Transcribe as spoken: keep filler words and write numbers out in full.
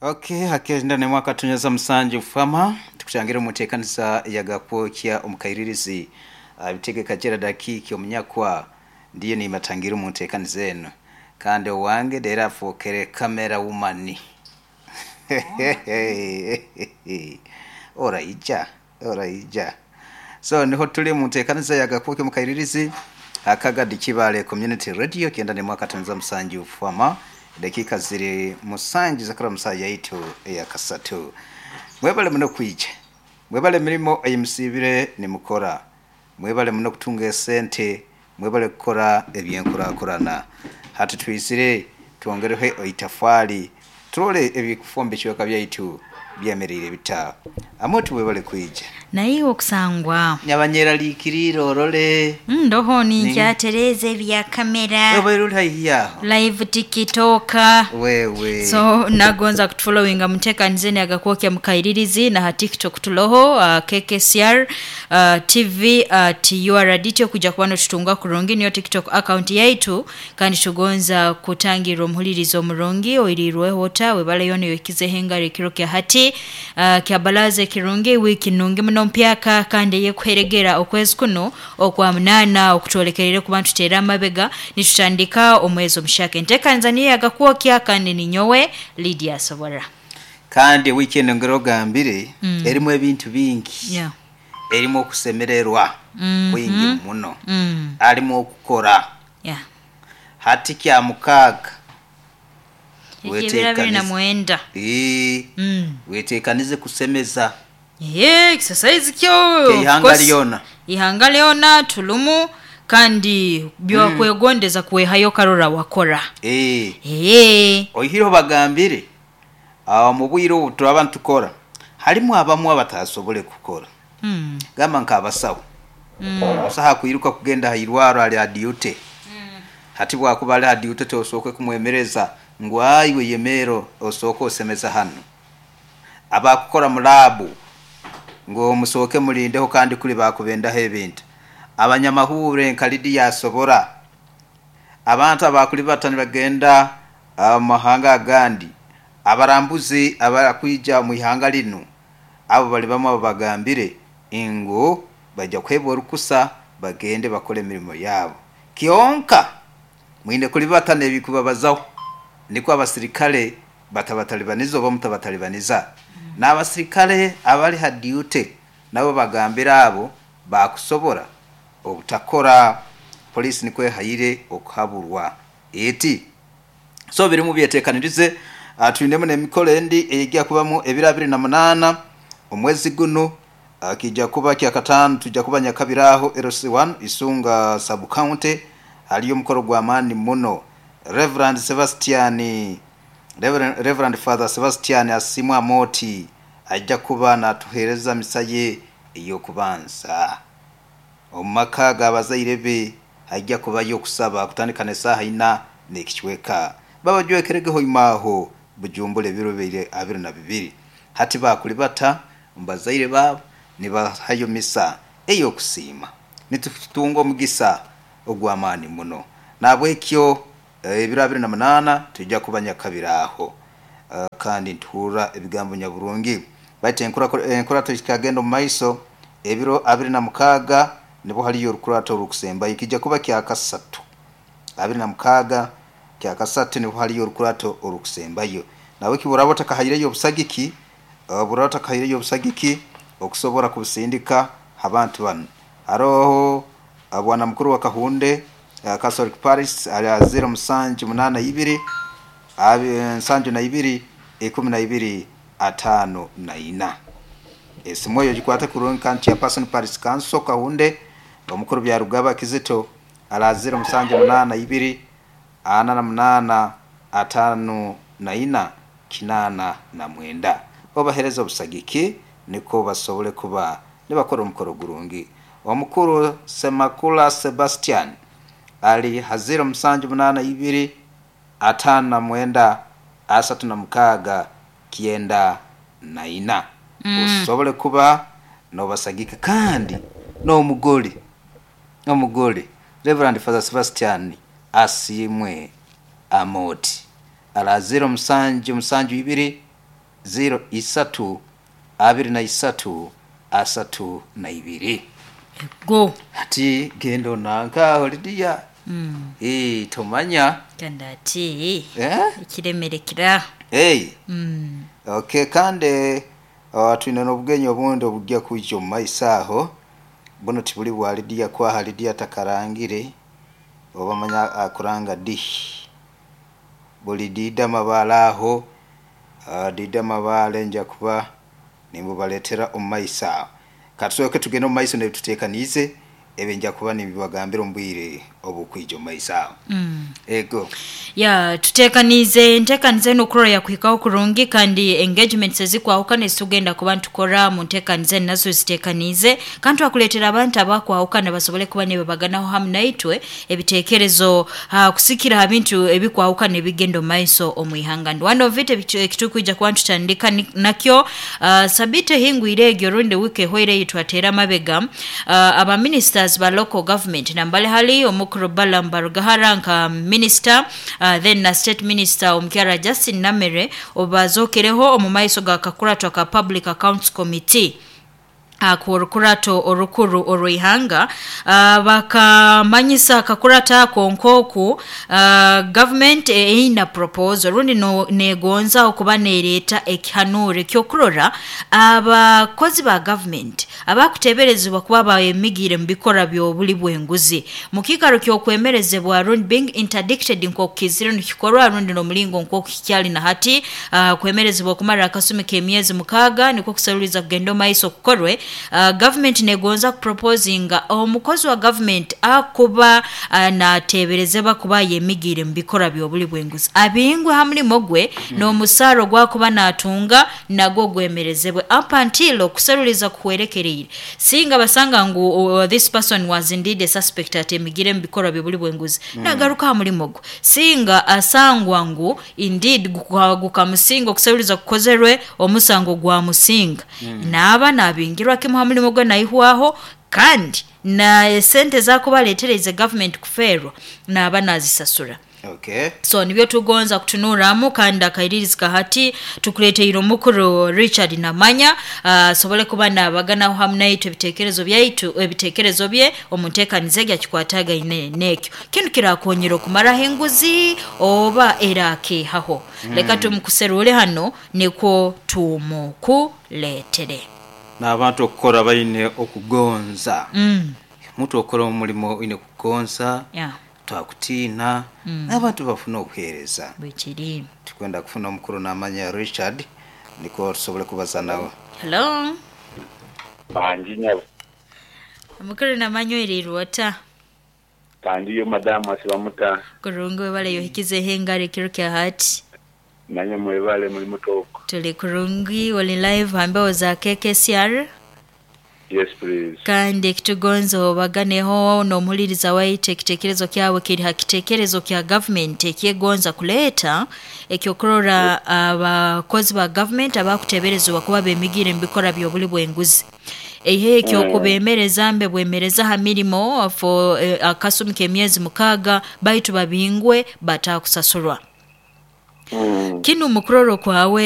Okay, hakenda ne mwaka tunyeza musanju fama tukutangira mutekanisa yagakwokya omukairirizi abitegeka jera dakiki omunyakwa ndiye ni matangira mutekanisa eno kandi owange dera afokere kamera wumani ora ija ora ija. So niho tuli mutekanisa yagakwokya omukairirizi akagadi Kibale Community Radio kienda ni mwaka tunyeza musanju fama dakika ziri musanju zakora musaa yaitu eyakasatu. Mwebale muno kwija, mwebale mirimo eyimusibire nimukora, mwebale muno kutunga esente, mwebale kukora ebyenkurakurana. Hati twizire twongereho itafari turole ebikufombe ekiweka byaitu byemerire bita amotu. Mwebale kwija. Naye okusangwa nyabanyeraliikirire orole. Ndoho ninkyatereza ebya kamera. Obaire uri haihi yaho. Live TikTok. Wewe. So nagonza kutufollowinga mutekanizeni agakwokya mukairirizi na ha TikTok tuloho uh, K K C R uh, T V uh, T U R D T okuja kuba notutunga kurungi. Niyo TikTok account yaitu, kandi tugonza kutangira omuhulirizo omurungi oirirweho ota webaleyo niyoikizeho engaro ekiro kya hati uh, kya balaza ekirungi, wiki nungi muno mpyaka kandi eyekuheregera okwezi kuno okwa munana okutwolekerere kuba ntuteera amabega nitutandika omwezi omushaka. Enteekaniza niyo yagakwokya kandi ninyowe Lydia Asobora. Kandi wiiki eno ngero ogambire mm. erimu ebintu bingi, yeah. erimu okusemererwa mm -hmm. kwingi muno, mm. alimu okukora. yeah. Hati kya mukaaga. Ekibira abiri na mwenda. Ee, mm. weteekanize kusemeza. Ye, exercise kyo. Ke ihanga of course, lyona. Ihanga lyona tulumu kandi byakwegondeza kwehayo karora wakora. Ee. Ee. Oihireho bagambire awo mu bwire obu turaba nitukora harimu abamu abatasobole kukora, mm. gamba nk'abasawo. Mm. Omusaho akwiruka kugenda ha irwaro ali ha duty. Hati bwakuba ali ha duty, tosooke kumwemereza ngu aiwe yemero osooke osemeza hano. Abakukora mu lab ngu musooke mulindeho kandi kuli bakubendaho ebintu. Abanyamahure nka Lidiya asobora, abantu abakuli bata nibagenda ah, mu mahanga agandi, abarambuzi abakwija mu ihanga linu, abo bali bamwe abo bagambire ngu bajja kuhebwa orukusa bagende bakole emirimo yabo. Kyonka mwine kulibata nebikubabazaho niko abasirikale batabatalibaniza oba mutabatalibaniza. N'abasirikale abali ha duty nabo bagambira abo bakusobora obutakora. Polisi nikwo ehayire okuhaburwa eti. So birimu byetekanirize. uh, twinemu n'emikolo endi eyijja kubamu ebiro abiri na munaana omwezi guno, uh, kijja kuba kyakataano. Tujja kuba Nyakabiraho L C one, Isunga sub county. Haliyo omukolo gw'amaani muno. Reverend Sebastian, Reverend, Reverend Father Sebastian Asimwa Moti ajja kuba natuheereza misa ye ey'okubanza omu maka g'abazaire be. Ajja kubayo okusaba kutandika n'esaaha ina n'ekicweka. Babajwekeregeho imaaho Bujumbura ebiro bibiri abiri na bibiri. Hati bakuli bata mubazaire baabo nibahayo misa ey'okusiima. Nitutunga omugisa ogw'amaani muno. Nabwekyo eh, ebiro abiri na munaana tujja kuba Nyakabiraho. Uh, kandi ntuhurra ebigambo nyaburungi baitu enkurato kikagenda omu maiso. Ebiro abiri na mukaaga nibo haliyo orukurato orukusembayo, kijja kuba kyakasatu. Abiri na mukaaga kyakasatu nibo haliyo orukurato orukusembayo. Nawe kiburaba otakahaireyo obusagiki, uh, buraba otakahaireyo obusagiki okusobora kubusindika abantu banu, haroho uh, bwana mukuru wa Kahunde uh, Catholic Parish ali zero musanju munana ibiri abi- nsanju na ibiri ikumi na ibiri atano na ina. Esimu eyo gikwate kurungi. Kandi chairperson parish council Kahunde, omukuru Byarugaba Kizito, ala zero musanju munana ibiri ana na munana atano na ina kinana na mwenda. Obahereza obusagiki niko basobole kuba nibakora omukoro gurungi. Omukuru Semakula Sebastian ali ha zero musanju munana ibiri atano na mwenda asatu na mukaaga kyenda na ina. Mm. Osobole kuba nobasagika. Kandi n'omugole omugole Reverend Father Sebastian Asiimwe Amoti ala zero musanju musanju ibiri zero isatu abiri na isatu asatu na ibiri. Go. Ati genda onanka Lidiya. Mm. Eh, tomanya. Kandi ati Eh? ekiremerekera. Hey. Mm. Okay, kandi uh, twine n'obugenyi obundi obujja kwija omu maiso aho. Buno tibuli bwa Lidiya kwaha Lidiya takarangire oba manya akuranga di buli dida mabaale aho, uh, dida mabaale nja kuba nimbubaletera omu maiso aho. Katusooke tugende omu maiso nebituteekaniize ebyo nja kuba nimbibagambira omu bwire obukwija omu maiso aho. Mm. Ego. Ya tutekanize ntekanize nokurora yakuhikaho kurungi, kandi engagements ezikwahukana ezitugenda kuba ntukora mu ntekanize nazo zitekanize, kandi twakuleetera abantu abakwahukana basobole kuba nibabaganaho hamu naitwe ebitekerezo, uh, kusikira ha bintu ebikwahukana ebigenda omu maiso omu ihanga. And one of it ekitukwija kuba ntutandika ni-, nakyo, uh, sabite hingwire egyo rundi wiki ehweire eyi twateera amabega, uh, aba ministers ba local government nambale hali omukuru Balaam Barugahara nka minister, uh, then na state minister omukyara Justin Namere obazokereho omu maiso ga kakurato ka Public Accounts Committee akorukurato orukuru orwihanga, uh, bakamanyisa akakurata ako nkoku, uh, government eina proposal rundi no, negonza okuba nereeta ekihanure kyokurora abakozi ba government abakuteberezebwa kuba bayemigire mu bikora by'obuli bw'enguzi mu kiikaro ky'okwemerezebwa rundi being interdicted nk'okukizire nikikorwa rundi n'omulingo nk'okukikyali na hati, uh, kwemerezebwa okumara akasumi k'emyezi mukaaga nikwo kusaruliza kugenda omu maiso kukorwe. Uh, government negonza kuproposinga omukozi wa government akuba, uh, nateberezebwa kuba yemigire mu bikora by'obuli bw'enguzi abingwe ha mulimo gwe, mm. n'omusaaro gwakuba natunga nagwo gwemerezebwe up until okuseruliza kuhwerekereire. Singa basanga ngu, uh, this person was indeed a suspect atemigire mu bikora by'obuli bw'enguzi, mm. nagaruka ha mulimo gwe. Singa asangwa ngu indeed gukamusinga okuseruliza kukozerwe omusango gwa musinga, mm. naaba nabingirwa kimu ha mulimo gwe naihwaho, kandi na sente zakubaleetereza government kuferwa naaba nazisasura. Okay. So nibyo tugonza kutunuramu, kandi akairirizi kahati tukuleteire omukuru Richard Namanya, asobole uh, kuba nabaganaho hamu naitwe ebitekerezo byaitu, ebitekerezo bye omu nteekaniza gyakikwatagaine n'ekyo kinu kirakonyera okumaraho enguzi oba erakeehaho. Mm. Leka tumukuserure hano nikwo tumukuleetere. N'abantu okukora baine okugonza. Mm. Omuntu okukora omulimo oine kugonza. Yeah. Twakutiina. Mm. N'abantu bafuna okuheereza. Bwekiri. Tukwenda kufuna omukuru Namanya Richard nikwo tusobole kubaza nawe. Hello. Bangi nyabo. Omukuru Namanya oirirwe ota? Kandi yo madamu asibamuta. Kurungi webale yohikizeho engaro ekiro kya hati. Nanye mwebale muri mutoko. Tuli kurungi, oli live hambeho za K K C R. Yes please. Kandi ekitugonza obaganeho n'omuhuliriza waitu ekitekerezo kyawe kiri ha kitekerezo kya government ekyegonza kuleeta ekyokurora abakozi ba government abakuteberezebwa kuba bemigire mu bikora by'obuli bw'enguzi. Ehe ekyokubemereza mbe bwemereza ha mirimo for eh, akasumi k'emyezi mukaaga baitu babingwe batakusasurwa. Mm. Kinu mukuroro kwawe